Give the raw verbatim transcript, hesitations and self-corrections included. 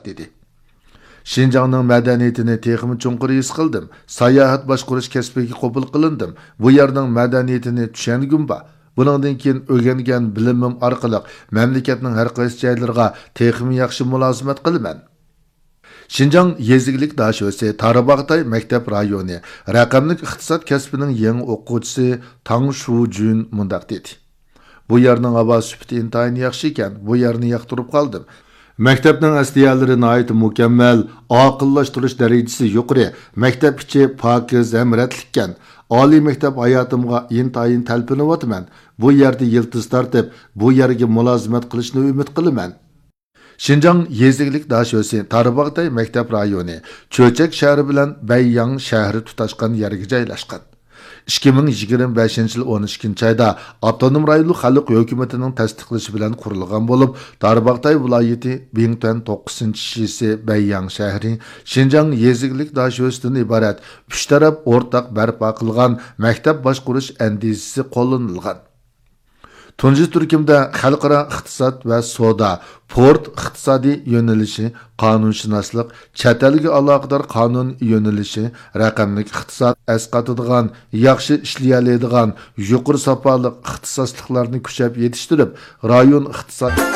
دېدى. شىنجاڭنىڭ مەدەنىيىتىنى تېخىمۇ چوڭقۇر ھېس قىلدىم. ساياھەت باشقۇرۇش كەسپىگە قوبۇل قىلىندىم. بۇ يەرنىڭ مەدەنىيىتىنى چۈشەنگۈم بار. بۇنىڭدىن كېيىن ئۆگەنگەن بىلىمىم ئارقىلىق مەملىكەتنىڭ ھەر قايسى جايلىرىغا تېخىمۇ ياخشى مۇلازىمەت قىلىمەن. شىنجاڭ يېزا ئىگىلىك داشۆسى تارباغاتاي مەكتەپ رايونى رەقەملىك ئىقتىساد كەسپىنىڭ يېڭى ئوقۇغۇچىسى تاڭ شۇجۈن مۇنداق دېدى: بۇ يەرنىڭ ھاۋا سۈپىتى ئىنتايىن ياخشى ئىكەن، بۇ يەرنى ياقتۇرۇپ قالدىم. مەكتەپنىڭ ئەسلىھەلىرى ناھايىتى مۇكەممەل، ئاقىللاشتۇرۇش دەرىجىسى يۇقىرى، مەكتەپ ئىچى پاكىز ھەم رەتلىككەن. ئالىي مەكتەپ ھاياتىمغا ئىنتايىن تەلپۈنۈۋاتىمەن. بۇ يەردە يىلتىز تارتىپ، بۇ يەرگە مۇلازىمەت قىلىشنى ئۈمىد قىلىمەن. شىنجاڭ يېزا ئىگىلىك داشۆسى تارباغاتاي مەكتەپ رايونى چۆچەك شەھىرى بىلەن بەيياڭ شەھىرى تۇتاشقان يەرگە جايلاشقان. ئىككى مىڭ يىگىرمە بەشىنچى يىل ئون ئىككىنچى ئايدا ئاپتونوم رايونلۇق خەلق ھۆكۈمىتىنىڭ تەستىقلىشى بىلەن قۇرۇلغان بولۇپ، تارباغاتاي ۋىلايىتى بىڭتۈەن توققۇزىنچى شىسى بەيياڭ شەھىرى شىنجاڭ يېزا ئىگىلىك داشۆسىدىن ئىبارەت ئۈچ تەرەپ ئورتاق بەرپا قىلغان مەكتەپ باشقۇرۇش ئەندىزىسى قوللىنىلغان. تۇنجى تۈركۈمدە خەلقئارا ئىقتىساد ۋە سودا، پورت ئىقتىسادىي يۆنىلىشى، قانۇنشۇناسلىق، چەت ئەلگە ئالاقىدار قانۇن يۆنىلىشى، رەقەملىك ئىقتىساد ئەسقاتىدىغان، ياخشى ئىشلىيەلەيدىغان، يۇقىرى ساپالىق ئىختىساسلىقلارنى كۈچەپ يېتىشتۈرۈپ، رايون ئىقتىساد